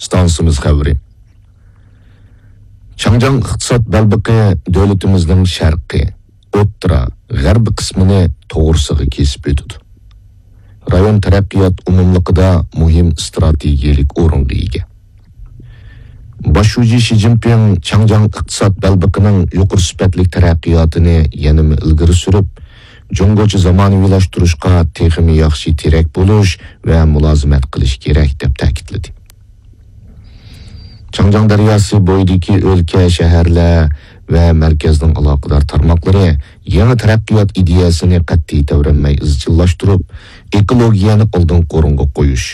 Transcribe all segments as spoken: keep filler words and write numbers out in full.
ئىستانسىمىز خەۋىرى. چاڭجياڭ ئىقتىساد بەلبېقى دۆلىتىمىزنىڭ شەرقىي، ئوتتۇرا، غەربىي قىسمىنى توغرىسىغا كېسىپ ئۆتىدۇ. رايون تەرەققىيات ئومۇملۇقىدا مۇھىم ئىستراتېگىيەلىك ئورۇنغا ئىگە. باش شۇجى شى جىنپىڭ چاڭجياڭ ئىقتىساد بەلبېقىنىڭ يۇقىرى سۈپەتلىك تەرەققىياتىنى يەنىمۇ ئىلگىرى سۈرۈپ، جۇڭگوچە زامانىۋىلاشتۇرۇشقا تېخىمۇ ياخشى تىرەك بولۇش ۋە مۇلازىمەت قىلىش كېرەك، دەپ تەكىتلىدى. چاڭجياڭ دەرياسى بويىدىكى ئۆلكە، شەھەرلەر ۋە مەركەزنىڭ ئالاقىدار تارماقلىرى يېڭى تەرەققىيات ئىدىيەسىنى قەتئىي تەۋرەنمەي ئىزچىللاشتۇرۇپ، ئېكولوگىيەنى ئالدىنقى ئورۇنغا قويۇش،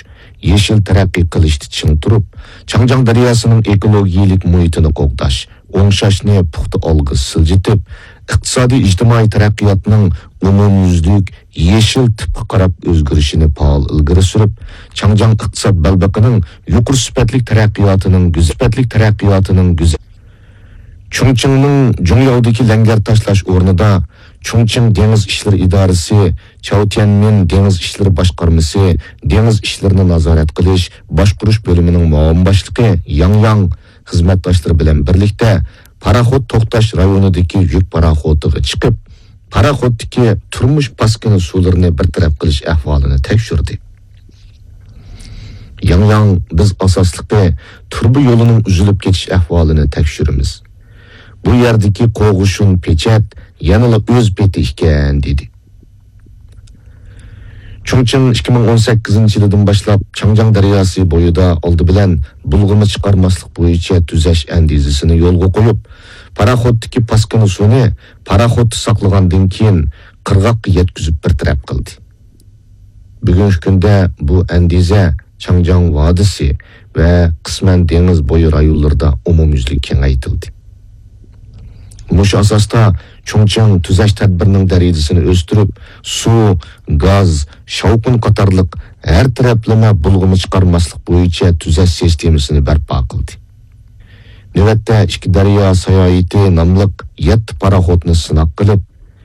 يېشىل تەرەققىي قىلىشتا چىڭ تۇرۇپ، چاڭجياڭ دەرياسىنىڭ ئېكولوگىيەلىك مۇھىتىنى قوغداش، ئوڭشاشنى پۇختا ئالغا سىلجىتىپ، ئىقتىسادىي ئىجتىمائىي تەرەققىياتنىڭ ئومۇميۈزلۈك يېشىل تىپقا قاراپ ئۆزگىرىشىنى پائال ئىلگىرى سۈرۈپ، چاڭجياڭ ئىقتىساد بەلبېقىنىڭ يۇقىرى سۈپەتلىك تەرەققىياتىنىڭ گۈز-، سۈپەتلىك تەرەققىياتىنىڭ گۈز-، چۇڭچىڭنىڭ جۇڭياۋدىكى لەڭگەر تاشلاش ئورنىدا چۇڭچىڭ دېڭىز ئىشلىرى ئىدارىسى، چياۋتيەنمىن دېڭىز ئىشلىرى باشقارمىسى دېڭىز ئىشلىرىنى نازارەت قىلىش، باشقۇرۇش بۆلۈمىنىڭ مۇئاۋىن باشلىقى ياڭ ياڭ خىزمەتداشلىرى بىلەن بىرلىكتە پاراخوت توختاش رايونىدىكى يۈك پاراخوتىغا چىقىپ، پاراخوتتىكى تۇرمۇش پاسكىنا سۇلىرىنى بىر تەرەپ قىلىش ئەھۋالىنى تەكشۈردى. ياڭ ياڭ، بىز ئاساسلىقى تۇرۇبا يولىنىڭ ئۈزۈلۈپ كېتىش ئەھۋالىنى تەكشۈرىمىز. بۇ يەردىكى قوغۇشۇن پېچەت يەنىلا ئۆز پېتى ئىكەن، دېدى. چۇڭچىڭ ئىككى مىڭ ئون سەككىزىنچى يىلىدىن باشلاپ چاڭجياڭ دەرياسى بويىدا ئالدى بىلەن بۇلغىما چىقارماسلىق بويىچە تۈزەش ئەندىزىسىنى يولغا قويۇپ، پاراخوتتىكى پاسكىنا سۇنى پاراخوتتا ساقلىغاندىن كېيىن قىرغاققا يەتكۈزۈپ بىر تەرەپ قىلدى. بۈگۈنكى كۈندە بۇ ئەندىزە چاڭجياڭ ۋادىسى ۋە قىسمەن دېڭىز بويى رايونلىرىدا ئومۇميۈزلۈك كېڭەيتىلدى. مۇشۇ ئاساستا چۇڭچىڭ تۈزەش تەدبىرىنىڭ دەرىجىسىنى ئۆستۈرۈپ، سۇ، گاز، شاۋقۇن قاتارلىق ھەر تەرەپلىمە بۇلغىما چىقارماسلىق بويىچە تۈزەش سىستېمىسىنى بەرپا قىلدى. نۆۋەتتە ئىككى دەريا ساياھىتى ناملىق يەتتە پاراخوتنى سىناق قىلىپ،